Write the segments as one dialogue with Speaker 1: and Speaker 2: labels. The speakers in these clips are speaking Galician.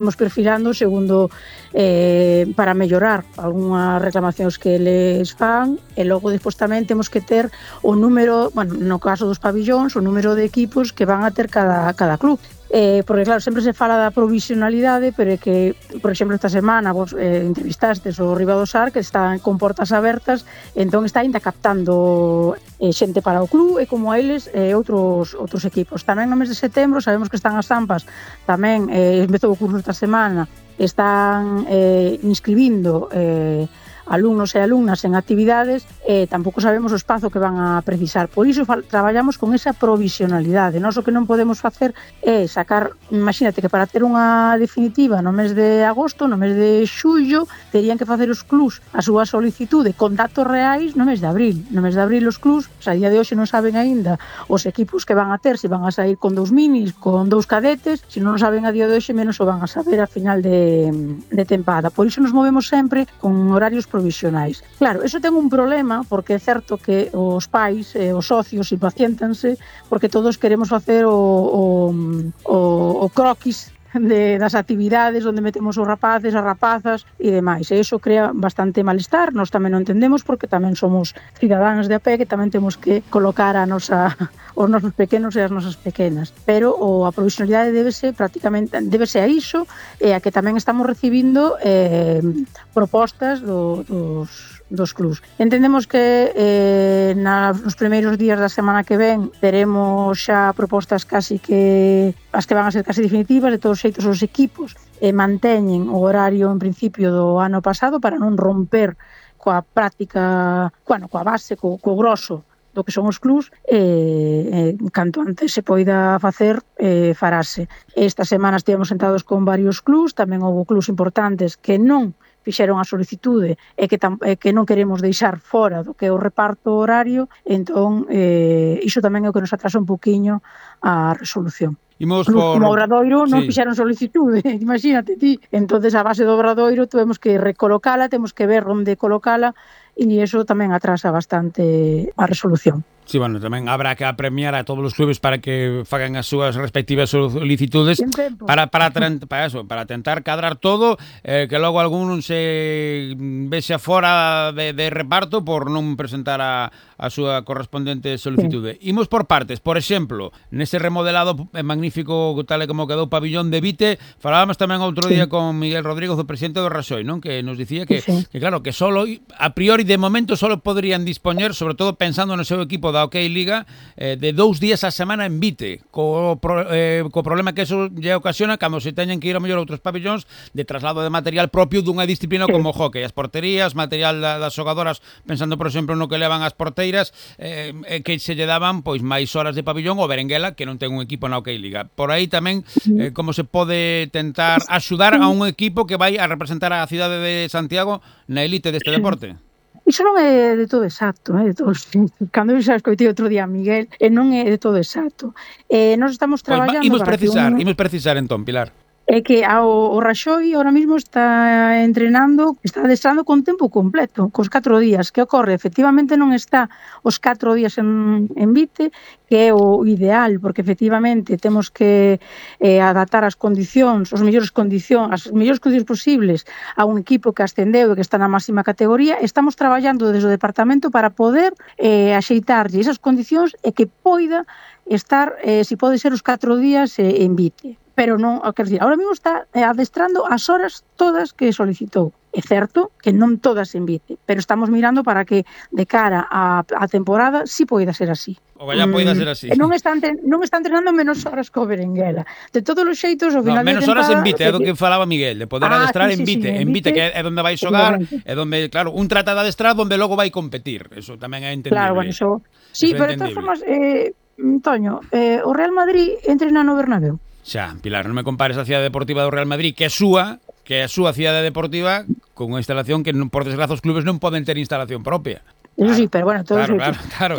Speaker 1: Imos perfilando segundo para mellorar algunhas reclamacións que eles fan e logo despois tamén temos que ter o número, bueno, no caso dos pabillóns, o número de equipos que van a ter cada club. Porque claro, sempre se fala da provisionalidade, pero é que, por exemplo, esta semana vos entrevistastes o Riba do Sar, que está con portas abertas, entón está ainda captando xente para o club e como a eles outros equipos. Tamén no mes de setembro sabemos que están as AMPAs, tamén empezou o curso esta semana, están inscribindo alumnos e alumnas en actividades e tampouco sabemos o espazo que van a precisar. Por iso traballamos con esa provisionalidade. Nós o que non podemos facer é sacar, imagínate que para ter unha definitiva no mes de agosto, no mes de xullo, terían que facer os clubs a súa solicitude con datos reais no mes de abril. No mes de abril os clubs, a día de hoxe non saben aínda os equipos que van a ter, se van a sair con 2 minis, con 2 cadetes, se non saben a día de hoxe, menos o van a saber a final de tempada. Por iso nos movemos sempre con horarios provisionais. Claro, eso ten un problema, porque é certo que os pais e os socios impaciéntanse porque todos queremos facer o croquis das actividades onde metemos os rapaces, as rapazas e demais. E iso crea bastante malestar. Nós tamén non entendemos porque tamén somos cidadáns de a pé que tamén temos que colocar os nosos pequenos e as nosas pequenas. Pero a provisionalidade débese a iso e a que tamén estamos recibindo propostas dos clubs. Entendemos que nos primeiros días da semana que ven teremos xa propostas casi que as que van a ser casi definitivas. De todos os xeitos os equipos manteñen o horario en principio do ano pasado para non romper coa práctica, coa base, co grosso do que son os clubs, canto antes se poida facer, farase. Esta semana estivemos sentados con varios clubs, tamén houve clubs importantes que non fixeron a solicitude e que non queremos deixar fora do que é o reparto horario, entón iso tamén é o que nos atrasa un poquinho a resolución. Como Obradoiro non fixeron solicitude, imagínate ti. Entonces a base do Obradoiro tuvemos que recolocala, temos que ver onde colocala e iso tamén atrasa bastante a resolución.
Speaker 2: Sí, bueno, tamén habrá que apremiar a todos os clubes para que fagan as súas respectivas solicitudes para tentar cadrar todo, que logo algún se vexe fora de reparto por non presentar a súa correspondente solicitude. Sí. Imos por partes. Por exemplo, nese remodelado magnífico tal e como quedou o pabillón de Vite, falábamos tamén outro día con Miguel Rodríguez, o presidente do Raxoi, non? Que nos dicía que claro, que solo a priori de momento solo poderían dispoñer, sobre todo pensando no seu equipo da OK Liga, de 2 días a semana en Vite, co problema que eso lle ocasiona cando se teñen que ir a mellor outros pabillóns de traslado de material propio dunha disciplina como o hockey, as porterías, material das xogadoras, pensando por exemplo no que levan as porteiras, que se lle daban pois máis horas de pabillón o Berenguela, que non ten un equipo na OK Liga. Por aí tamén como se pode tentar axudar a un equipo que vai a representar a cidade de Santiago na elite deste deporte.
Speaker 1: Iso non é de todo exacto, de todos. Cando eu xa escoitei outro día a Miguel, non é de todo exacto. Nós estamos traballando...
Speaker 2: Imos precisar entón, Pilar.
Speaker 1: É que o Raxoi ahora mismo está adestrando con tempo completo, cos 4 días. Que ocorre? Efectivamente non está os 4 días en Vite, que é o ideal, porque efectivamente temos que adaptar as condicións, as mellores condicións posibles a un equipo que ascendeu e que está na máxima categoría. Estamos traballando desde o departamento para poder axeitarlle esas condicións e que poida estar, se pode ser, os 4 días en Vite. Pero non, quero dicir, ahora mesmo está adestrando as horas todas que solicitou. É certo que non todas en Vite, pero estamos mirando para que de cara á temporada si poida ser así.
Speaker 2: Ojalá poida ser así.
Speaker 1: Non está entrenando menos horas co Berenguela. De todos os xeitos, ao final
Speaker 2: menos horas en Vite, é do que falaba Miguel, de poder adestrar en Vite. En Vite, que é onde vai xogar, é onde, claro, un trata de adestrar onde logo vai competir. Eso tamén é entendible.
Speaker 1: Claro, bueno, eso... Sí, pero de todas formas, Toño, o Real Madrid entrena no Bernabéu.
Speaker 2: Xa, Pilar, non me compares a cidade deportiva do Real Madrid, que é a súa cidade deportiva, con unha instalación que, por desgraza, os clubes non poden ter instalación propia.
Speaker 1: Eso sí, pero bueno, todos
Speaker 2: claro.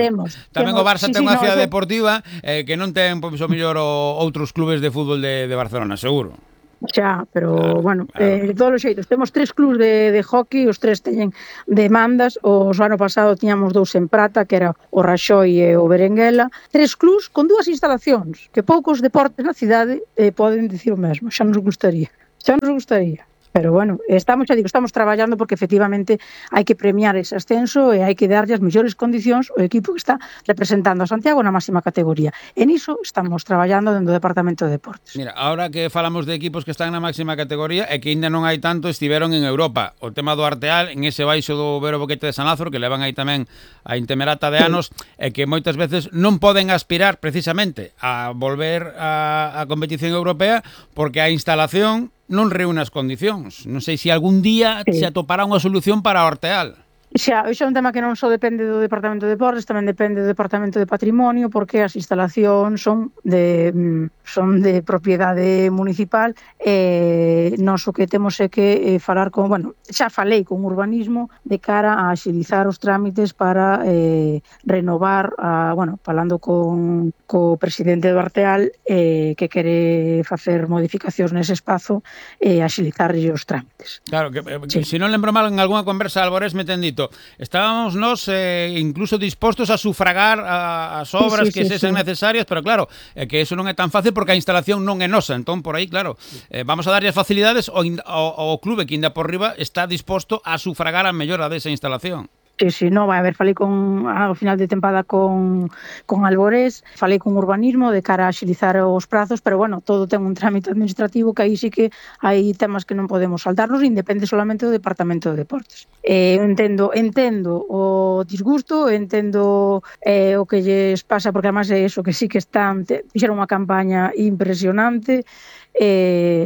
Speaker 2: Tamén o Barça ten unha cidade deportiva que non ten, pois, o mellor outros clubes de fútbol de Barcelona, seguro.
Speaker 1: Xa, pero, bueno, de todos os xeitos, temos 3 clubs de hockey, os 3 teñen demandas, o ano pasado tiñamos 2 en prata, que era o Raxoi e o Berenguela, 3 clubs con 2 instalacións, que poucos deportes na cidade poden dicir o mesmo, xa nos gustaría. Xa nos gustaría. Pero bueno, estamos traballando porque efectivamente hai que premiar ese ascenso e hai que darlle as mellores condicións ao equipo que está representando a Santiago na máxima categoría. E niso estamos traballando dentro do Departamento de Deportes.
Speaker 2: Mira, ahora que falamos de equipos que están na máxima categoría e que ainda non hai tanto, estiveron en Europa. O tema do Arteal, en ese baixo do Vero Boquete de San Lázaro, que levan aí tamén a intemerata de anos, e que moitas veces non poden aspirar precisamente a volver a competición europea porque a instalación non reúne as condicións. Non sei se algún día se atopará unha solución para o Arteal.
Speaker 1: Xa é un tema que non só depende do Departamento de Deportes, tamén depende do Departamento de Patrimonio, porque as instalacións son de propiedade municipal e nós o que temos é que falar con, xa falei con urbanismo de cara a axilizar os trámites para renovar, falando co presidente do Arteal que quere facer modificacións nese espazo e axilizarlle os trámites.
Speaker 2: Claro, que se non lembro mal, en algunha conversa Álvarez me ten dito, estábamos nós incluso dispostos a sufragar as obras que sexan necesarias, pero claro, que eso non é tan fácil porque a instalación non é nosa, entón por aí, claro, vamos a darlle as facilidades ao clube que ainda por riba está disposto a sufragar a mellora desa instalación.
Speaker 1: Sí, non, vai a ver, falei ao final de tempada con Alborés, falei con urbanismo de cara a axilizar os prazos, pero todo ten un trámite administrativo que aí sí que hai temas que non podemos saltarnos, independe solamente do Departamento de Deportes. Entendo o disgusto, entendo o que lles pasa, porque además é eso, que sí que fixeron unha campaña impresionante,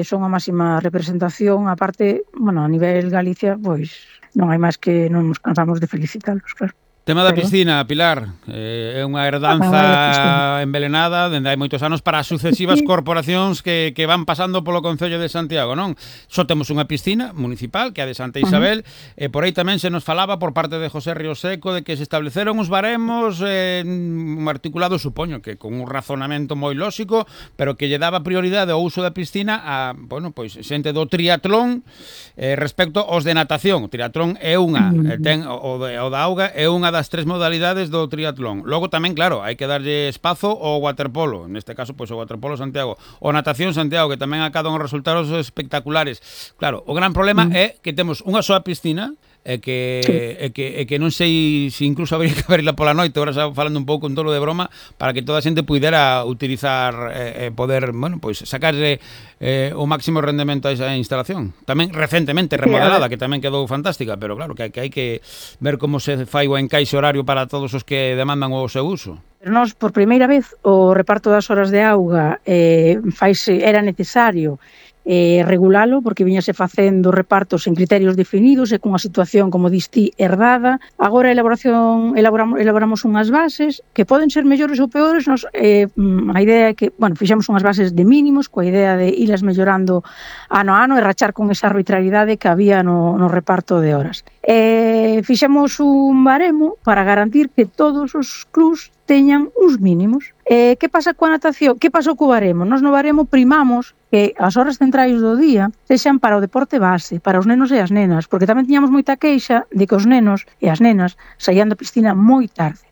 Speaker 1: son a máxima representación, aparte, a nivel Galicia, pois non hai máis que non nos cansamos de felicitalos, claro.
Speaker 2: Tema da piscina, Pilar, é unha herdanza envelenada dende hai moitos anos para as sucesivas corporacións que van pasando polo Concello de Santiago, non? Só temos unha piscina municipal, que é a de Santa Isabel, e por aí tamén se nos falaba por parte de José Ríos Seco de que se estableceron uns baremos articulados, supoño que con un razonamento moi lóxico, pero que lle daba prioridade ao uso da piscina a, xente do triatlón respecto aos de natación. O triatlón é unha, o da auga é unha das tres modalidades do triatlón. Logo tamén, claro, hai que darlle espazo ao waterpolo, neste caso, o waterpolo Santiago, o natación Santiago, que tamén acadan os resultados espectaculares. Claro, o gran problema é que temos unha soa piscina e que non sei se incluso habría que abrirla pola noite, agora xa falando un pouco en tolo de broma, para que toda a xente pudera utilizar poder, sacarle o máximo rendemento a esa instalación. Tamén recentemente remodelada, que tamén quedou fantástica, pero claro, que hai que ver como se fai o encaixe horario para todos os que demandan o seu uso.
Speaker 1: Pero nós, por primeira vez, o reparto das horas de auga era necesario regulalo, porque viñase facendo repartos en criterios definidos e cunha situación, como dis ti, herdada. Agora elaboramos unhas bases que poden ser mellores ou peores. A idea é que, fixemos unhas bases de mínimos, coa idea de ilas mellorando ano a ano e rachar con esa arbitrariedade que había no reparto de horas. Fixemos un baremo para garantir que todos os clubs teñan uns mínimos. Que pasa coa natación? Que pasou co baremo? Nos no baremo primamos que as horas centrais do día sexan para o deporte base, para os nenos e as nenas, porque tamén tiñamos moita queixa de que os nenos e as nenas saían da piscina moi tarde.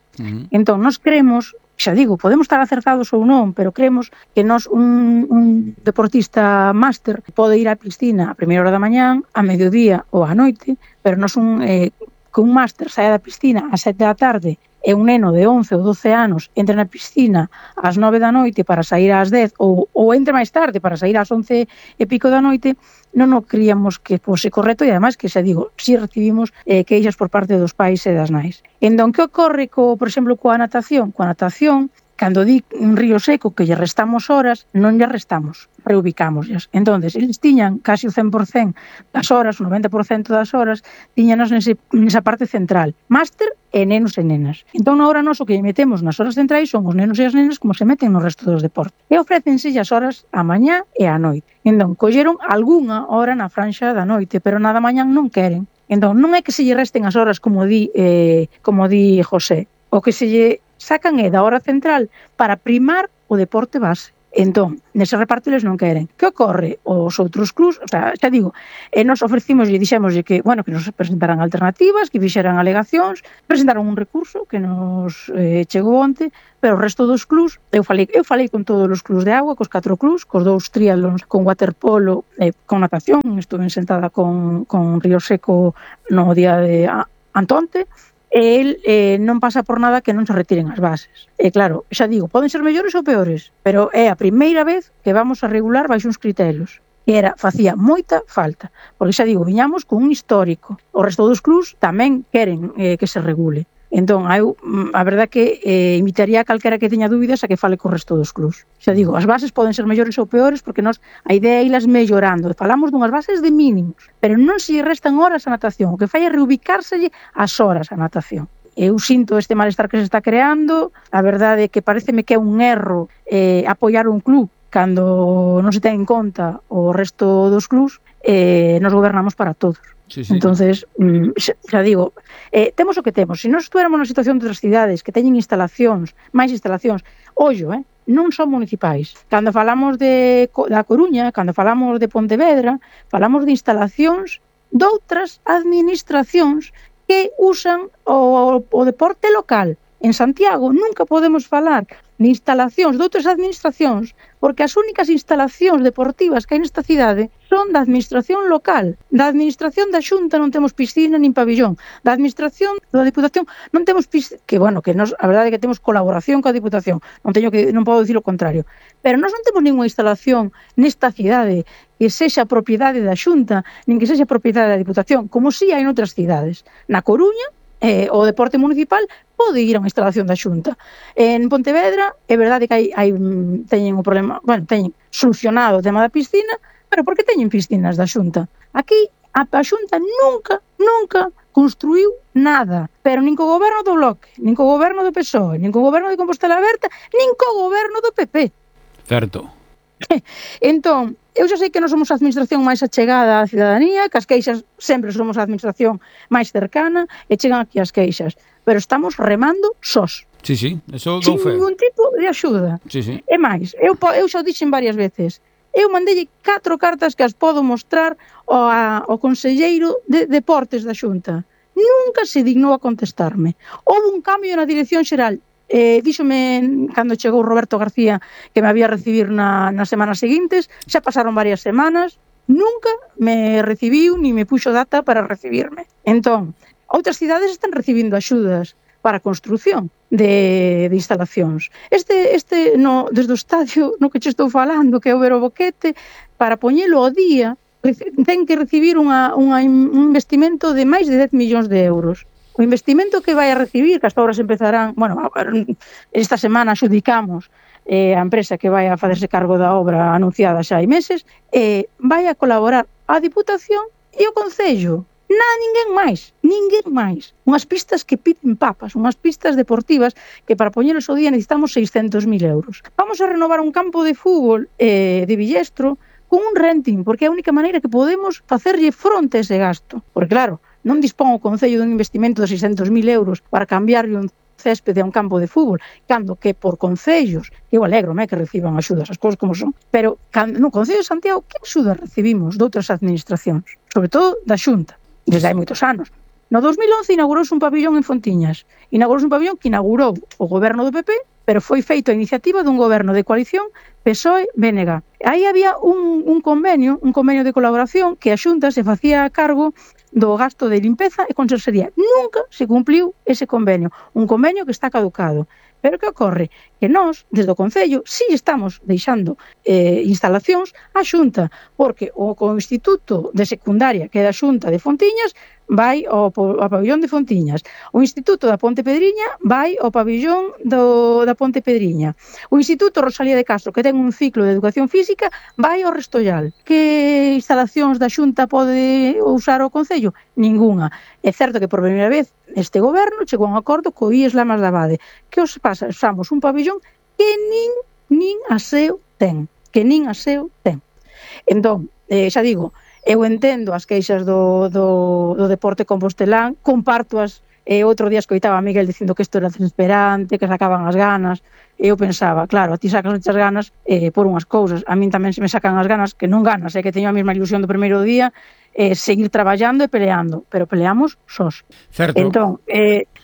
Speaker 1: Entón, nos creemos, xa digo, podemos estar acertados ou non, pero creemos que un deportista máster pode ir á piscina a primeira hora da mañán, a mediodía ou á noite, pero non que un máster saia da piscina a 7 da tarde e un neno de 11 ou 12 anos entre na piscina ás 9 da noite para sair ás 10 ou entre máis tarde para sair ás 11 e pico da noite, non o creíamos que fose correcto, e ademais que, xa digo, si recibimos queixas por parte dos pais e das nais. Entón, que ocorre, por exemplo, coa natación? Coa natación, cando di un río seco que lle restamos horas, non lle restamos, reubicámoslas. Entón, eles tiñan casi o 100% das horas, o 90% das horas, tiñanos nesa parte central. Máster e nenos e nenas. Entón, agora nós o que metemos nas horas centrais son os nenos e as nenas como se meten no resto dos deportes. E ofrécense as horas a mañá e a noite. Entón, colleron algunha hora na franxa da noite, pero nada mañán non queren. Entón, non é que se lle resten as horas como di José. O que se lle sacan é da hora central para primar o deporte base. Entón, nese reparto eles non queren. Que ocorre? Os outros clubs, o sea, xa digo, nos ofrecimos e dixémoslle que, bueno, que nos presentaran alternativas, que fixeran alegacións, presentaron un recurso que nos chegou onte, pero o resto dos clubs, eu falei con todos os clubs de agua, cos 4 clubs, cos 2 triatlons, con waterpolo, con natación, estuve sentada con Río Seco no día de Antonte, el non pasa por nada que non se retiren as bases. E claro, xa digo, poden ser mellores ou peores, pero é a primeira vez que vamos a regular baixo uns criterios. E facía moita falta, porque xa digo, viñamos con un histórico. O resto dos clubs tamén queren que se regule. Entón, a verdade que invitaría a calquera que teña dúbidas a que fale co resto dos clubs. Xa digo, as bases poden ser mellores ou peores porque a idea é ilas mellorando. Falamos dunhas bases de mínimos, pero non se restan horas a natación. O que fai é reubicárselle as horas a natación. Eu sinto este malestar que se está creando. A verdade é que pareceme que é un erro apoiar un club cando non se ten en conta o resto dos clubs. Nos gobernamos para todos. Sí. Entonces, xa digo, temos o que temos. Se nós estuéramos na situación de outras cidades que teñen máis instalacións, ollo, non son municipais. Cando falamos da Coruña, cando falamos de Pontevedra, falamos de instalacións doutras administracións que usan o deporte local. En Santiago nunca podemos falar de instalacións de outras administracións porque as únicas instalacións deportivas que hai nesta cidade son da administración local. Da administración da Xunta non temos piscina nin pabillón. Da administración da Diputación non temos piscina, que bueno, que a verdade é que temos colaboración coa Diputación, non podo dicir o contrario. Pero nós non temos ninguna instalación nesta cidade que sexa propiedade da Xunta, nin que sexa propiedade da Diputación, como si hai noutras cidades. Na Coruña, o deporte municipal pode ir a unha instalación da Xunta. En Pontevedra é verdade que teñen o problema, bueno, teñen solucionado o tema da piscina, pero por que teñen piscinas da Xunta? Aquí a Xunta nunca construiu nada, pero nin co goberno do Bloque, nin co goberno do PSOE, nin co goberno de Compostela Aberta, nin co goberno do PP.
Speaker 2: Certo.
Speaker 1: Entón, eu xa sei que non somos a administración máis achegada á cidadanía, que as queixas sempre somos a administración máis cercana e chegan aquí as queixas, pero estamos remando sós.
Speaker 2: Sí, eso dou fe.
Speaker 1: Sin ningún tipo de axuda.
Speaker 2: Sí.
Speaker 1: E máis, eu xa o dixen varias veces, eu mandei 4 cartas que as podo mostrar ao conselleiro de Deportes da Xunta. Nunca se dignou a contestarme. Houve un cambio na dirección xeral. Díxome cando chegou Roberto García que me había recibir nas semanas seguintes, xa pasaron varias semanas, nunca me recibiu ni me puxo data para recibirme. Entón, outras cidades están recibindo axudas para a construción de instalacións. Desde o estadio no que che estou falando, que é o Vero Boquete, para poñelo ao día, ten que recibir un investimento de máis de 10 millóns de euros. O investimento que vai a recibir, que as obras empezarán, bueno, esta semana xudicamos a empresa que vai a facerse cargo da obra anunciada xa hai meses, vai a colaborar a Diputación e o Concello. Ninguén máis. Unhas pistas que piden papas, unhas pistas deportivas que para poñelos ao día necesitamos 600.000 euros. Vamos a renovar un campo de fútbol de Villestro con un renting, porque é a única maneira que podemos facerlle fronte a ese gasto. Porque claro, non dispón o Concello dun investimento de 600.000 euros para cambiarle un céspede a un campo de fútbol, cando que por concellos, eu alegro-me que reciban axudas, as cousas como son, pero no Concello de Santiago, que axudas recibimos de outras administracións? Sobre todo da Xunta, desde hai moitos anos. No 2011 inaugurouse un pabillón en Fontiñas. Inaugurouse un pabillón que inaugurou o goberno do PP, pero foi feito a iniciativa dun goberno de coalición PSOE-BNG. Aí había un convenio de colaboración que a Xunta se facía a cargo do gasto de limpeza e conserxería. Nunca se cumpliu ese convenio. Un convenio que está caducado. Pero que ocorre? Que nós, desde o Concello, si estamos deixando instalacións á Xunta, porque o Instituto de Secundaria, que é da Xunta de Fontiñas, vai ao pabillón de Fontiñas. O Instituto da Ponte Pedriña vai ao pabillón da Ponte Pedriña. O Instituto Rosalía de Castro, que ten un ciclo de educación física, vai ao Restollal. Que instalacións da Xunta pode usar o Concello? Ningunha. É certo que por primeira vez este goberno chegou a un acordo co IES Lamas de Abade. Que os pasa? Usamos un pabillón que nin aseo ten. Entón, xa digo, eu entendo as queixas do deporte compostelán, compartoas outro día escoitaba a Miguel dicindo que isto era desesperante, que sacaban as ganas, e eu pensaba, claro, a ti sacas muchas ganas por unhas cousas, a min tamén se me sacan as ganas, que non ganas, que teño a mesma ilusión do primeiro día, seguir traballando e peleando, pero peleamos sós.
Speaker 2: Certo.
Speaker 1: Entón,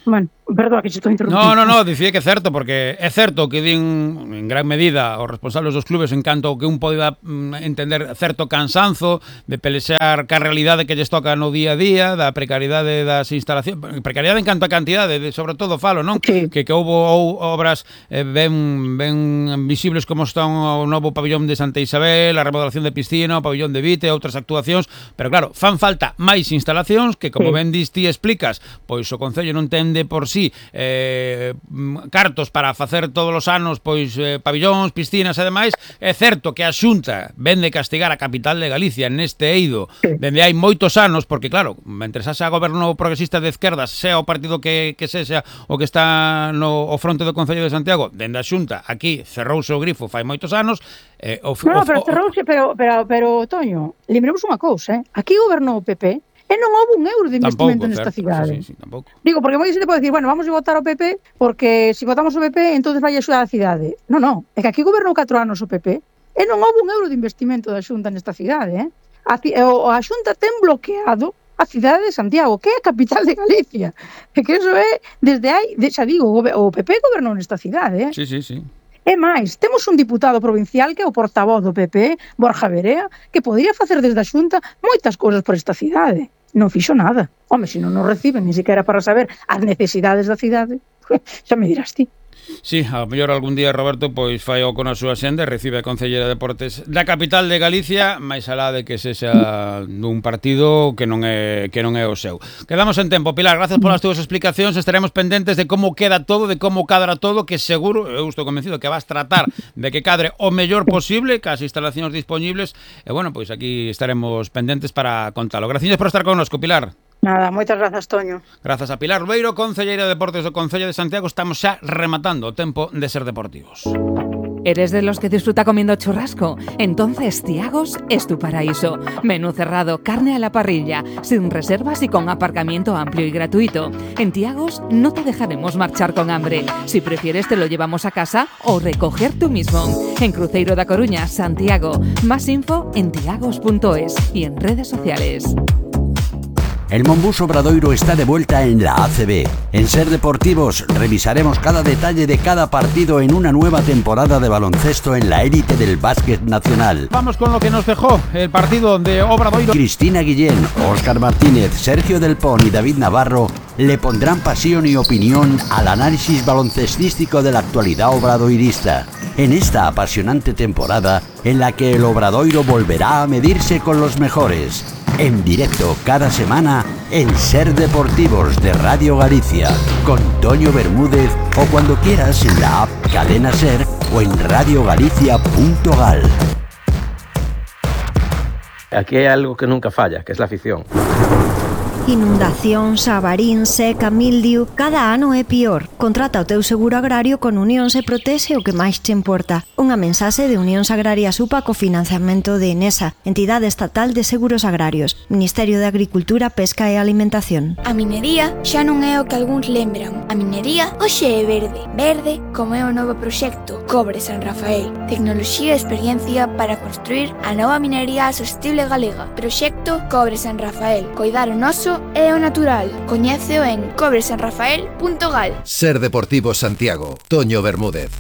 Speaker 1: bueno, perdón que se estou interrompindo.
Speaker 2: No, dicía que é certo, porque é certo que din en gran medida os responsables dos clubes en canto que un poida entender certo cansanzo de pelexar ca realidade que lles toca no día a día, da precariedade das instalacións, precariedade en canto a cantidade, sobre todo falo, non?
Speaker 1: Sí.
Speaker 2: Que houbo obras ben visibles como están o novo pabillón de Santa Isabel, a remodelación de piscina, o pabillón de Vite, outras actuacións, pero claro, fan falta máis instalacións que, como ben dis ti explicas, pois o Concello non ten de por sí cartos para facer todos os anos pois pabillóns, piscinas e demais. É certo que a Xunta ven de castigar a capital de Galicia neste eido dende hai moitos anos, porque claro, mentre xa goberno progresista de esquerdas, sea o partido que sexa o que está no fronte do Concello de Santiago, dende a Xunta aquí cerrouse o grifo fai moitos anos.
Speaker 1: Pero cerrouse, pero Toño, lembremos unha cousa, aquí gobernou o PP e non houve un euro de investimento nesta cidade.
Speaker 2: Sí, tampouco.
Speaker 1: Digo, porque moi xente pode dicir, bueno, vamos a votar ao PP porque se votamos o PP, entonces vai axudar a cidade. Non, é que aquí gobernou 4 anos o PP e non houve un euro de investimento da Xunta nesta cidade, A Xunta ten bloqueado a cidade de Santiago, que é a capital de Galicia. É que eso é, desde hai, xa digo, o PP gobernou nesta cidade,
Speaker 2: Sí.
Speaker 1: E máis, temos un diputado provincial que é o portavoz do PP, Borja Verea, que podría facer desde a Xunta moitas cousas por esta cidade. Non fixo nada. Home, se non nos reciben, ni siquiera para saber as necesidades da cidade, xa me dirás ti.
Speaker 2: Sí, a mellor algún día Roberto pois fai o con a súa xenda e recibe a Concelleira de Deportes da capital de Galicia, máis alá de que sexa dun partido que non é o seu. Quedamos en tempo, Pilar, gracias polas túas explicacións, estaremos pendentes de como queda todo, de como cadra todo, que seguro, eu estou convencido que vas tratar de que cadre o mellor posible, cas instalacións disponibles, e bueno, pois aquí estaremos pendentes para contalo. Gracias por estar connosco, Pilar.
Speaker 1: Nada, moitas grazas, Toño.
Speaker 2: Grazas a Pilar Beiro, Concelleira de Deportes do Concello de Santiago. Estamos xa rematando o tempo de Ser Deportivos.
Speaker 3: ¿Eres de los que disfruta comiendo churrasco? Entonces Tiagos es tu paraíso. Menú cerrado, carne a la parrilla, sin reservas y con aparcamiento amplio y gratuito. En Tiagos no te dejaremos marchar con hambre. Si prefieres te lo llevamos a casa o recoger tú mismo. En Cruzeiro da Coruña, Santiago. Más info en tiagos.es y en redes sociales.
Speaker 4: El Monbus Obradoiro está de vuelta en la ACB. En Ser Deportivos revisaremos cada detalle de cada partido en una nueva temporada de baloncesto en la élite del básquet nacional.
Speaker 2: Vamos con lo que nos dejó el partido de Obradoiro.
Speaker 4: Cristina Guillén, Óscar Martínez, Sergio Del Pon y David Navarro le pondrán pasión y opinión al análisis baloncestístico de la actualidad obradoirista. En esta apasionante temporada en la que el Obradoiro volverá a medirse con los mejores. En directo cada semana en Ser Deportivos de Radio Galicia con Toño Bermúdez o cuando quieras en la app Cadena Ser o en radiogalicia.gal.
Speaker 5: Aquí hay algo que nunca falla, que es la afición.
Speaker 6: Inundacións, avarín, seca, mildiu, cada ano é pior. Contrata o teu seguro agrario con Unión Se Protexe o que máis te importa. Unha mensaxe de Unión Agraria Supa co financiamento de Enesa, Entidade Estatal de Seguros Agrarios, Ministerio de Agricultura, Pesca e Alimentación.
Speaker 7: A minería xa non é o que algúns lembran. A minería hoxe é verde. Verde como é o novo proxecto Cobre San Rafael. Tecnoloxía e experiencia para construir a nova minería sostible galega. Proxecto Cobre San Rafael. Coidar o noso é o natural. Coñéceo en cobresanrafael.gal.
Speaker 8: Ser Deportivo Santiago. Toño Bermúdez.